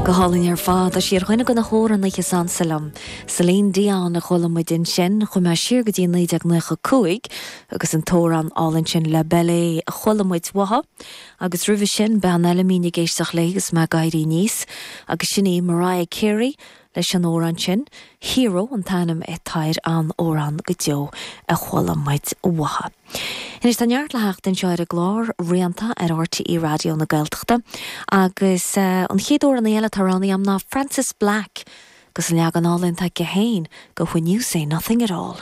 Go hálainn ar fad. Tá sí ar dhuine de na hamhránaithe is ansa liom. Celine Dion a chuala muid ansin. Chuaigh mé siar go dtí 1995 agus an t-amhrán álainn sin La Belle a chuala muid uaithi. Agus roimhe sin, bean eile a mbínn ag éisteacht léi agus mé ag éirí aníos agus sin í Mariah Carey leis an amhrán sin, Hero an t-ainm atá ar an amhrán go deo a chuala muid uaithi. Anois tá neart le theacht anseo ar an gclár Rianta ar RTÉ Raidió na Gaeltachta agus an chéad amhránaí eile atá roghnaithe agam ná Frances Black agus an leagan álainn atá aici féin de When You Say Nothing At All.